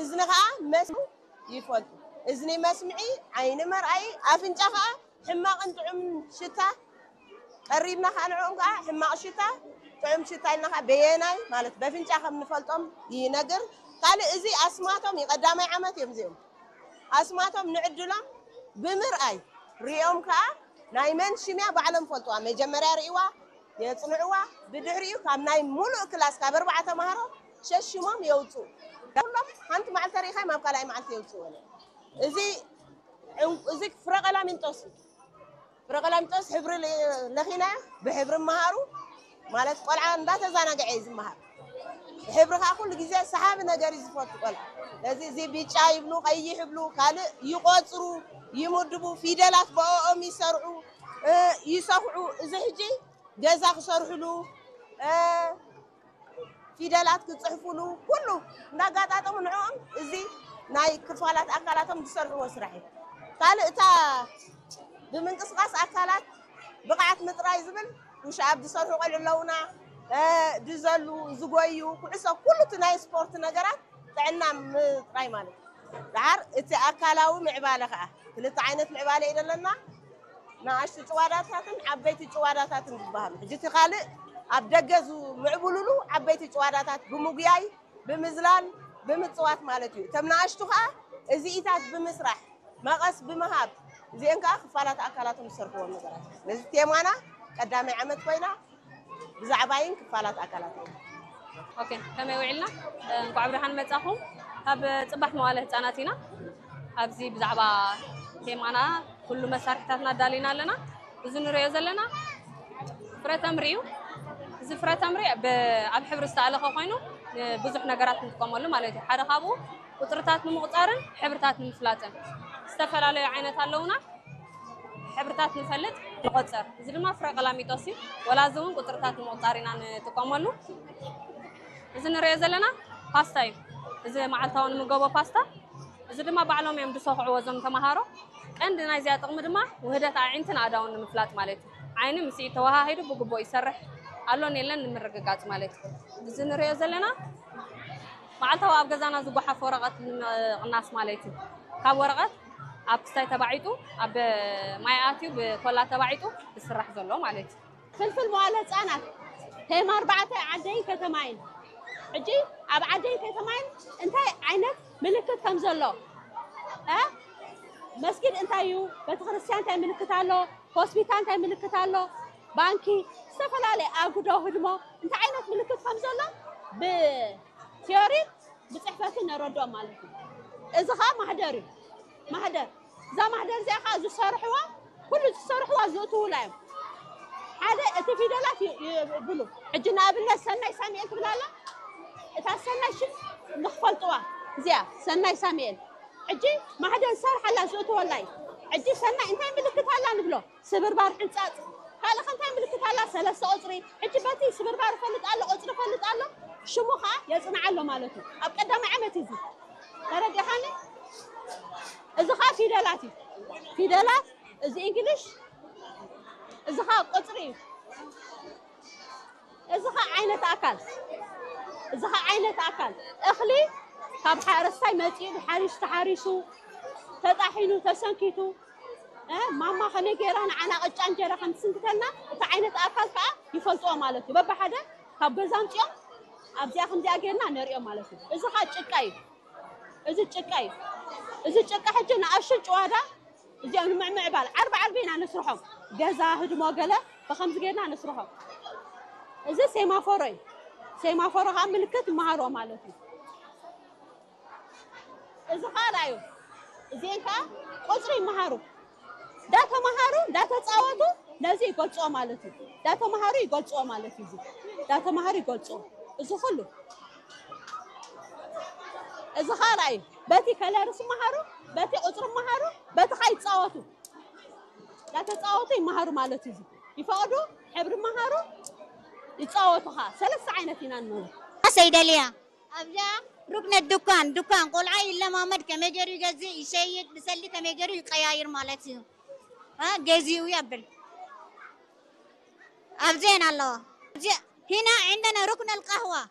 እዝኒ ከዓ መስሙ ይፈልጡ። እዝኒ መስምዒ፣ ዓይኒ መርኣይ፣ ኣፍንጫ ከዓ ሕማቕን ጥዑምን ሽታ ቀሪብና ከዓ ንዕኦም ከዓ ሕማቕ ሽታ፣ ጥዑም ሽታ ኢልና ከዓ በየናይ ማለት በፍንጫ ከም ንፈልጦም ይነግር። ካልእ እዚ ኣስማቶም እዩ፣ ቀዳማይ ዓመት እዮም እዚኦም። ኣስማቶም ንዕድሎም ብምርኣይ ሪኦም ከዓ ናይ መን ሽምያ ባዕሎም ፈልጥዋ። መጀመርያ ርእዋ የፅንዕዋ። ብድሕሪኡ ካብ ናይ ሙሉእ ክላስ ካብ ኣርባዕተ ተምሃሮ ሸሽሞም የውፅኡ። ኩሎም ሓንቲ መዓልቲ ተሪኻዮም ኣብ ካልኣይ መዓልቲ የውፅኡ። እዚ ዕንቁ- እዚ ፍረ ቀላሚንጦስ እዩ። ፍረ ቀላሚንጦስ ሕብሪ ለ- ለኺና ብሕብሪ መሃሩ ማለት ቆልዓ እንዳተዛናግዐ እዩ ዝመሃር። ሕብሪ ከዓ ኩሉ ግዜ ሰሓቢ ነገር እዩ ዝፈቱ ቆልዓ። ስለዚ እዚ ቢጫ ይብሉ፣ ቀይሕ ይብሉ፣ ካልእ ይቆፅሩ፣ ይምድቡ፣ ፊደላት ብኦም ይሰርዑ፣ እ፣ ይሰፍዑ። እዚ ሕጂ ገዛ ክሰርሕሉ፣ እ፣ ፊደላት ክፅሕፉሉ ኩሉ እንዳጋጣጠሙ ንዕኦም እዚ ናይ ክፋላት ኣካላቶም ዝሰርሕዎ ስራሕ እዩ። ካልእ እታ ብምንቅስቃስ ኣካላት ብቕዓት ምጥራይ ዝብል ውሽኣብ ዝሰርሑ ቆልዑ ኣለውና፣ እ፣ ድዘሉ፣ ዝጎዩ፣ ኩዕሶ፣ ኩሉ እቲ ናይ ስፖርት ነገራት ጥዕና ምጥራይ ማለት እዩ። ደሓር እቲ ኣካላዊ ምዕባለ ከዓ ክልተ ዓይነት ምዕባለ እዩ ዘለና። ንኣሽቱ ጭዋዳታትን ዓበይቲ ጭዋዳታትን ዝበሃሉ። ሕጂ እቲ ካልእ ኣብ ደገ ዝምዕብሉሉ ዓበይቲ ጭዋዳታት ብምጉያይ፣ ብምዝላል፣ ብምፅዋት ማለት እዩ። እቶም ንኣሽቱ ከዓ እዚኢታት ብምስራሕ፣ መቐስ ብምሃብ፣ እዚአን ከዓ ክፋላት ኣካላቶም ዝሰርሕዎም ነገራት። ስለዚ ቴማና ቀዳማይ ዓመት ኮይና ብዛዕባይን ክፋላት ኣካላትን። ኦኬ፣ ከመይ ውዒልና? እንኳዕ ብርሃን መጻኹም። ካብ ጽባሕ መዋለ ህጻናት ኢና። ኣብዚ ብዛዕባ ቴማና ኩሉ መሳርሒታትና ኣዳሊና ኣለና። እዚ ንሪኦ ዘለና ፍረ ተምሪ እዩ። እዚ ፍረ ተምሪ ብ- ኣብ ሕብሪ ዝተኣለኸ ኮይኑ ንብዙሕ ነገራት ንጥቀመሉ ማለት እዩ። ሓደ ካብኡ ቁፅርታት ንምቑፃርን ሕብርታት ንምፍላጥን ዝተፈላለዩ ዓይነት ኣለውና። ሕብርታት ንፈልጥ ንቆፅር። እዚ ድማ ፍረ ቀላሚጦስ እዩ። ወላ እዚ እውን ቁፅርታት ንምቑፃር ኢና ንጥቀመሉ። እዚ ንሪኦ ዘለና ፓስታ እዩ። እዚ መዓልታዊ ንምገቦ ፓስታ። እዚ ድማ ባዕሎም እዮም ዝሰኽዕዎ እዞም ተምሃሮ። ቀንዲ ናይዚኣ ጥቕሚ ድማ ውህደት ኣዒንትን ኣእዳውን ንምፍላጥ ማለት እዩ። ዓይኒ ምስ ኢድ ተወሃሂዱ ብግቡእ ይሰርሕ ኣሎን የለን ንምርግጋፅ ማለት እዩ። እዚ ንሪኦ ዘለና መዓልታዊ ኣብ ገዛና ዝጓሓፍ ወረቐት ንምቕናስ ማለት እዩ። ካብ ወረቐት ኣብ ክስታይ ተባዒጡ ኣብ ማይ ኣትዩ ብኮላ ተባዒጡ ዝስራሕ ዘሎ ማለት እዩ። ፍልፍል መዋለ ህፃናት ቴማ ኣርባዕተ ዓደይን ከተማይን። ሕጂ ኣብ ዓደይን ከተማይን እንታይ ዓይነት ምልክት ከም ዘሎ እ? መስጊድ እንታይ እዩ? ቤተክርስትያን እንታይ ምልክት ኣሎ? ሆስፒታል እንታይ ምልክት ኣሎ? ባንኪ ዝተፈላለየ ኣጉዶ ህድሞ እንታይ ዓይነት ምልክት ከም ዘሎ ብቲዮሪ ብፅሕፈትን ነረድኦም ማለት እዩ። እዚ ከዓ ማህደር እዩ። ማህደር እዛ ማህደር እዚኣ ከዓ ዝሰርሕዋ ኩሉ ዝሰርሕዋ ዝእትውላ እዮም። ሓደ እቲ ፊደላት ይ- ይብሉ። ሕጂ ንኣብነት ሰናይ ሳሙኤል ትብላ ኣላ። እታ ሰናይ ሽም ንክፈልጥዋ እዚኣ ሰናይ ሳሙኤል ሕጂ ማህደር ዝሰርሓላ ዝእትወላ እዩ። ሕጂ ሰናይ እንታይ ምልክት ኣላ ንብሎ? ስብርባር ሕንፃፅ ካልእ ከ እንታይ ምልክት ኣላ? ሰለስተ ቁፅሪ። ሕጂ በቲ ስብርባር ይፈልጥ ኣሎ፣ ቁፅሪ ይፈልጥ ኣሎ፣ ሽሙ ከዓ የፅንዓ ኣሎ ማለት እዩ። ኣብ ቀዳማይ ዓመት እዩ እዚ ተረዲኻኒ? እዚ ከዓ ፊደላት እዩ። ፊደላት እዚ እንግሊሽ እዚ ከዓ ቁፅሪ እዩ። እዚ ኸ ዓይነት ኣካል እዚ ኸ ዓይነት ኣካል እኽሊ ካብ ሓረስታይ መፂኡ ብሓሪሽ ተሓሪሱ ተጣሒኑ ተሰንኪቱ እ ማማ ከመይ ገይራ ንዓና ቅጫ እንጀራ ከም ትስንክተልና እቲ ዓይነት ኣካል ከዓ ይፈልጥዎ ማለት እዩ። በብሓደ ካብ ገዛ ኣምፂኦም ኣብዚኣ ከምዚኣ ገይርና ነሪኦም ማለት እዩ። እዚ ኸ ጭቃ እዩ። እዚ ጭቃ እዩ። እዚ ጭቃ ሕጂ ንኣሽቱ ጭዋዳ እዚኦም ንምዕምዕባል ዓርቢ ዓርቢ ኢና ነስርሖም። ገዛ ህድሞ ገለ ብኸምዚ ጌርና ነስርሖም። እዚ ሴማፎሮ እዩ። ሴማፎሮ ከዓ ምልክት ይመሃርዎ ማለት እዩ። እዚ ከዓ ርኣዩ። እዚአን ከዓ ቁፅሪ ይመሃሩ። እንዳተምሃሩ እንዳተፃወቱ ነዚ ይገልፅዎ ማለት እዩ። እንዳተምሃሩ ይገልፅዎ ማለት እዩ። እዚ እንዳተምሃሩ ይገልፅዎ። እዚ ኩሉ እዚ ከዓ ርኣዩ። በቲ ከለርስ ይመሃሩ፣ በቲ ቁፅሪ ይመሃሩ፣ በቲ ከዓ ይፃወቱ። እንዳተፃወቱ ይመሃሩ ማለት እዩ። ይፈቕዱ፣ ሕብሪ ይመሃሩ፣ ይፃወቱ ከዓ። ሰለስተ ዓይነት ኢና ንመሃር። ሰይደልያ ኣብዚኣ ሩክነት ዱካን ዱካን ቆልዓ ይለማመድ ከመይ ገይሩ ይገዝእ ይሸይጥ ብሰልዲ ከመይ ገይሩ ይቀያይር ማለት እዩ። እ፣ ገዚኡ የብል ኣብዚአን ኣለዋ። እዚ- هنا عندنا ركن القهوة